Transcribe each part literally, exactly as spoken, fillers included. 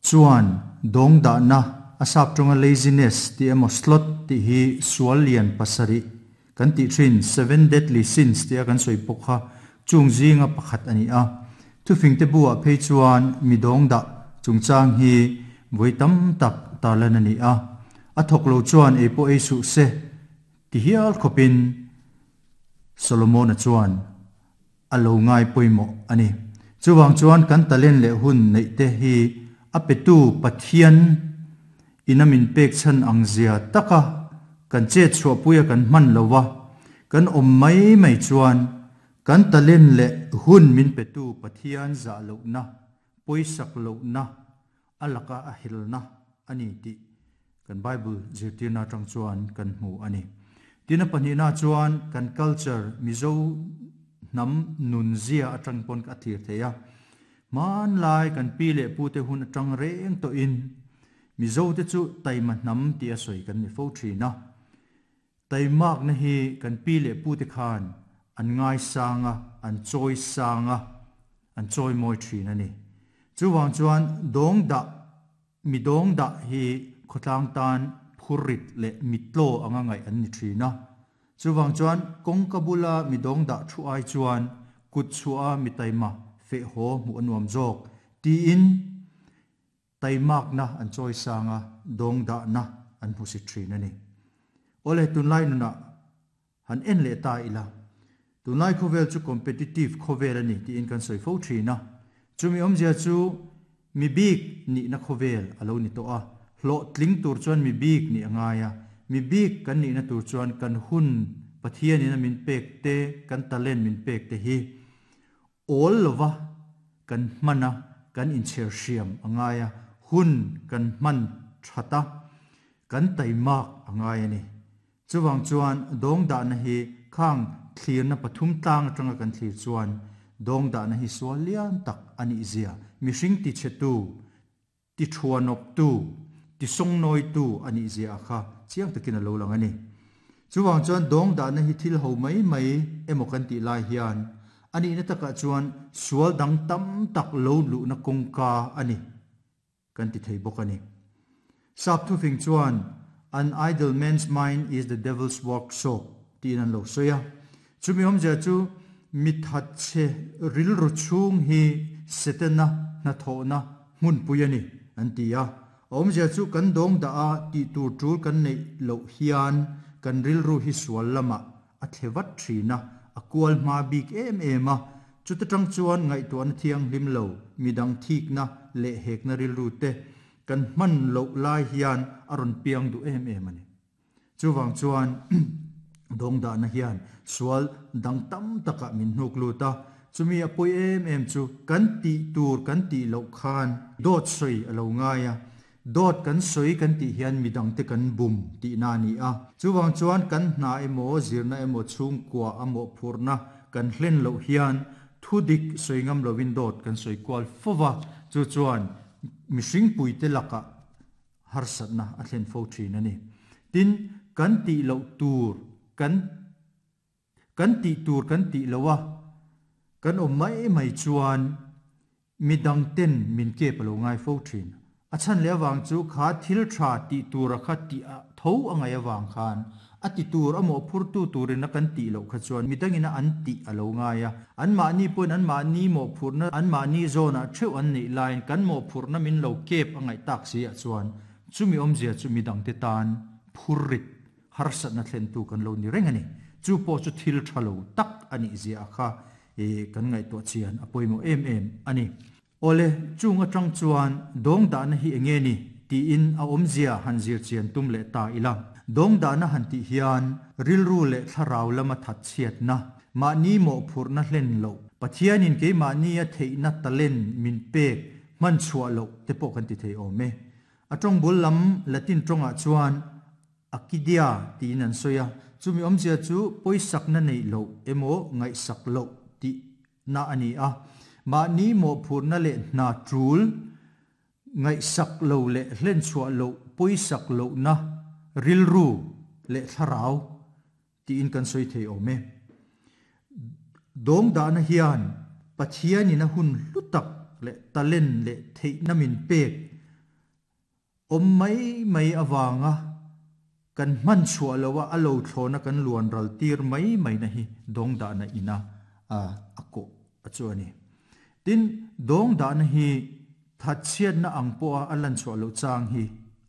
Chuan dawng dah na a sap tawnga laziness ti emaw sloth ti hi sual lian pasarih kan tih thin seven deadly sins tia kan sawi pawh kha chung zinga pakhat a ni a. Thufing te buah phei chuan mi dawng dah chungchang hi vawi tam tak tarlan a ni a. A thawk lo chuan ei pawh ei suh se ti hial khawpin Solomon-a chuan a lo ngai pawimawh a ni. Chuvang chuan kan talent leh hun neih te hi a petu Pathian ina min pek chhan ang zia taka kan chet chhuahpuia kan hman lova kan awm mai mai chuan kan talent leh hun min petu Pathian zah lohna pawisak lohna a laka a helna a ni tih kan Bible zirtirna atang chuan kan hmu a ni. Tina pahnihna chuan kan culture Mizo hnam nun zia atang pawn ka thlir thei a. Hmanlai kan pi leh pu te hun atang reng tawhin Mizo te chu taima hnam tih a sawi kan ni fo thin a. Taimak na hi kan pi leh pu te khan an ngai sang a, an chawi sang a, an chawi mawi thin a ni. Chuvang chuan dawng dah mi dawng dah hi khawtlang tan phurrit leh mitlaw anga ngaih an ni thin a. Chuvang chuan kawngka bula mi dawng dah thu ai chuan kut chhuah a mi taima feh haw hmuh a nuam zawk tiin taimak na an chawi sang a, dawng dah na an hmu si thin a ni. Awle tunlai nunah han en leh ta ila. Tunlai khawvel chu competitive khawvel a ni tiin kan sawi fo thin a. Chumi awmzia chu mi bik nihna khawvel a lo ni tawh a. Hlawh tling tur chuan mi bik nih a ngai a. Mi bik kan nihna tur chuan kan hun Pathian in a min pek te, kan talent min pek te hi awl lova kan hman a, kan inchher hriam a ngai a. Hun kan hman that a, kan taimak a ngai a ni. Chuvang chuan dawng dahna hi khang thlirna pathum tlang atanga kan thlir chuan dawng dahna hi sual lian tak a nih zia. Mihring ti chhe tu, ti thuanawp tu, ti sawngnawi tu a nih zia kha chiang takin a lo lang a ni. Chuvang chuan dawng dahna hi thil ho mai mai emaw kan tih lai hian a nihna takah chuan sual dang tam tak lo luhna kawngka a ni kan ti thei bawk a ni. Sap thufing chuan an idle man's mind is the devil's workshop tiin an lo sawi a. Chumi awmzia chu mi that che rilru chhung hi Setana hnathawhna hmunpui a ni an ti a. Awmzia chu kan dawng dah a tih tur tul kan neih loh hian kan rilru hi sual lamah a thle vat thin a, a kual hma bik em em a. Chuta tang chuan ngaihtuahna thianghlim lo midang thikna leh hekna rilru te kan hman loh lai hian a rawn piang duh em em a ni. Chuvang chuan dawng dahna hian sual dang tam takah min hnuk lut a. Chumi a pawi em em chu kan tih tur kan tih loh khan dawt sawi a lo ngai a. Dawt kan sawi kan tih hian midang te kan bum tihna a ni a. Chuvang chuan kan hna emaw zirna emaw chhungkua a mawhphurhna kan hlen loh hian thudik sawi ngam lovin dawt kan sawi kual fova. Chu chuan mihring puite lakah harsatna a thlen fo thin a ni. Tin kan tih loh tur kan kan tih tur kan tih loh a kan awm mai mai chuan midang ten min kep a lo ngai fo thin. A chhan leh avang chu kha thil tha tih tur a kha tih a tho a ngai avang khan a ti tur a mawhphurtu turin a kan tih loh kha chuan midangin a an tih a lo ngai a. An mahni pawhin an mahni mawhphurhna an mahni zawnah theuh an neih laiin kan mawhphurhna min lo kep a ngaih tak si ah chuan chumi awmzia chu midang te tan phurrit harsatna thlentu kan lo ni reng a ni. Chu pawh chu thil tha lo tak a nih zia kha kan ngaihtuah chian a pawimawh em em a ni. Awle chung atang chuan dawng dahna hi enge ni tiin a awmzia han zir chian tum leh ta ila. Dawng dahna han tih hian rilru leh thlarau lama that chhiatna mahni mawhphurhna hlen loh Pathianin keimahni a theihna talent min pek hman chhuah loh te pawh kan ti thei awm e. A tawng bul lam Latin tawngah chuan acedia tiin an sawi a. Chumi awmzia chu pawisakna neih loh emaw ngaihsak loh tih na a ni a. Mahni mawhphurhna leh hna tul ngaihsak lo leh hlen chhuah loh pawisak lohna rilru leh thlarau tiin kan sawi thei awm e. Dawng dahna hian Pathianin a hun hlu tak leh talent leh theihna min pek Om mai mai awanga kan man chua lowa alo thlona kan luan ral tir mai mai na hi dong da na ina a ako achuani tin dong da na hi thatchiat na angpo a alan chua lo chang hi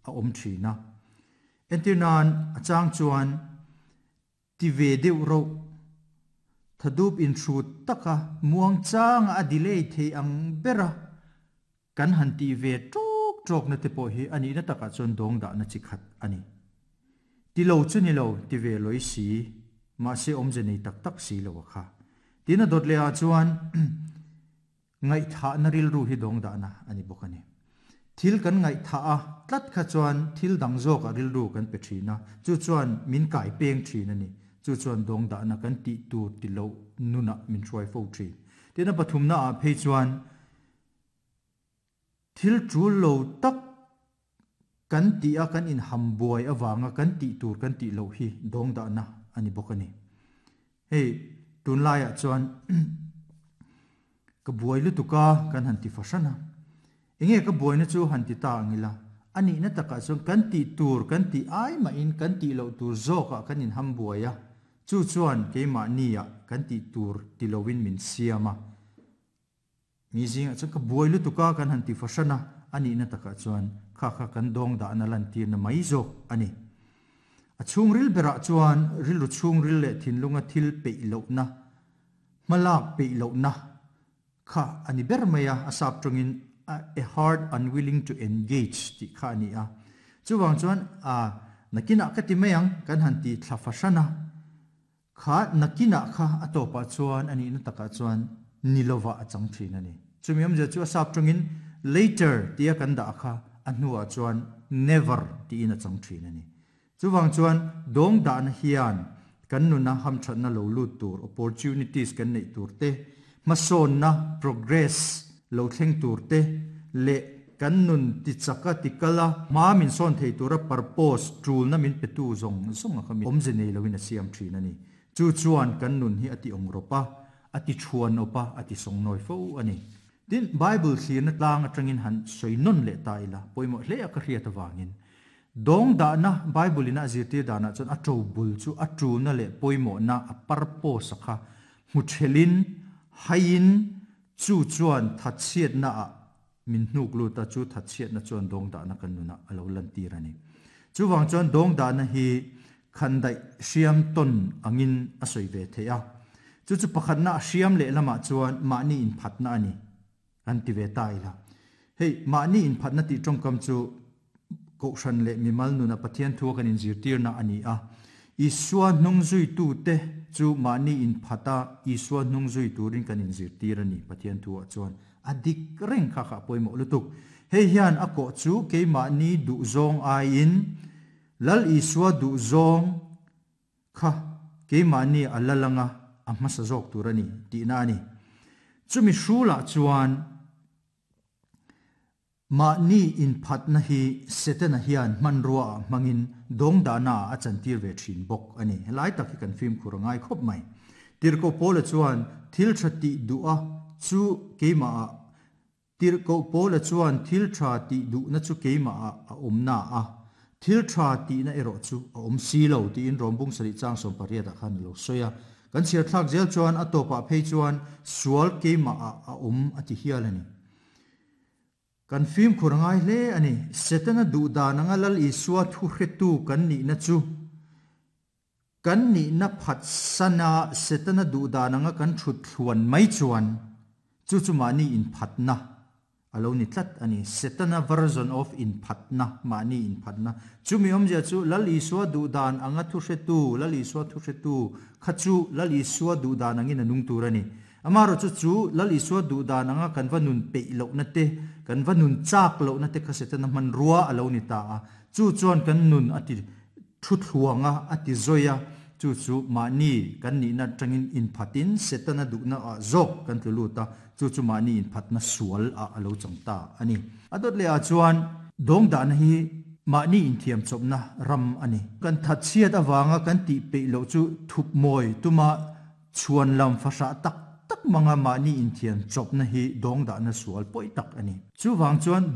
a om thina entirnan achang chuan ti ve deuh ro thadup in thu taka muang chang a delay thei ang bera kan han ti ve tok tok na te po hi ani na taka chon dong da na chi khat ani ti lo chu ni lo ti ve loi si ma se om je nei tak tak si lo kha tina dot le a chuan ngai tha na ril ru hi dong da na ani bokani thil kan ngai tha a tlat kha chuan thil dang zawk a ril ru kan pe thina chu chuan min kai peng thina ni chu chuan dong da na kan ti tu ti lo nuna min thruai fo thi tina pathum na a phei chuan thil chu lo tak kan ti a kan in hambuai awanga kan ti tur kan ti lo hi dong da na ani bokani hei tun lai a chuan ka buai lu tuka kan han ti fasana enge ka buai na chu han ti ta angila ani na taka chuan kan ti tur kan ti ai ma in kan ti lo tur zoka kan in hambuai a chu chuan keima nia kan ti tur ti lowin min siama mi zinga chuan ka buai lu tuka kan han ti fasana ani na taka chuan kha kha kan dong da na lan tir na mai zo ani a chung ril bera chuan ril ru chung ril le thin lunga thil pe lo na malak pe lo na kha ani ber maya asap tongin a heart unwilling to engage ti kha ani a chuwang chuan a nakina ka ti mayang kan han ti thlafashana kha nakina kha atopa chuan ani na taka chuan nilowa achang thin ani chumiam je chu asap tongin later tia kan da kha anua chuan never ti in achang thin ani chuwang chuan dong dan hian kan nuna ham thatna lo lut tur opportunities kan nei tur te mason na progress lo thleng tur te le kan nun ti chaka tikala ma min son thei tura purpose tul na min petu zong zong a khami omje nei lowin a siam thin ani chu chuan kan nun hi ati ongropa ati chuan opa ati songnoi fo ani tin bible thlir na tlang atangin han soinon le ta ila poimo hle a ka hriat awangin dong da na bible ina zirtir da na chuan a to bul chu a tu na le poimo na a purpose kha hmuchelin hain chu chuan thatchiat na a min hnuk lu ta chu thatchiat na chuan dong da na kan nuna alo lan tir ani chuwang chuan dong da na hi khandai siam ton angin a soi ve theia chu chu pakhat na siam le lama chuan mani in phatna ani an ti ve ta ila hei mani in phatna ti tongkam chu ko shan le mimal nuna pathian thu kan in zirtir na ani a iswa nung zui tu te chu mani in phata iswa nung zui turin kan in zirtir ani pathian thu a chuan adik reng kha kha poimo lutuk hei hian a ko chu ke mani du zong a in lal iswa du zong kha ke mani alalanga a hmasa zawk tur ani ti na ani chumi hrula chuan ma ni in phat na hi setena hian manrua mangin dong dana a chantir ve thin bok ani helai tak hi kan film khurangai khop mai tirko pola chuan thil thati dua chu keima a tirko pola chuan thil tha ti du na chu keima a a omna a thil tha ti na ero chu a om si lo ti in rombung sari chang som pariat a khan lo soya kan chiar thlak zel chuan a topa phei chuan sual keima a a om ati hial ani kan film khurangai hle ani setana du da nanga lal iswa thu hretu kan ni na chu kan ni na phat sana setana du da nanga kan thut thluan mai chuan chu chu mani in phatna alo ni tlat ani setana version of in phatna mani in phatna chumi omja chu lal iswa du dan anga thu hretu lal iswa thu hretu khachu lal iswa du dan angin anung tur ani amaro chu chu lal iswa du dan anga kan vanun pe lo na te kan vanun chak lo na te khasetana man ruwa alo ni ta a chu chuan kan nun ati thu thluanga ati zoya chu chu mani kan ni na tangin in phatin setana du na a zok kan tlu ta chu chu mani in phatna sual a alo changta ani adot le a chuan dong dan hi mani in thiam chopna ram ani kan thatchiat awanga kan ti pe lo chu thup moi tuma chuan lam fasha tak tak manga mani in thiam chopna hi dong da na sual poi tak ani chu wang chuan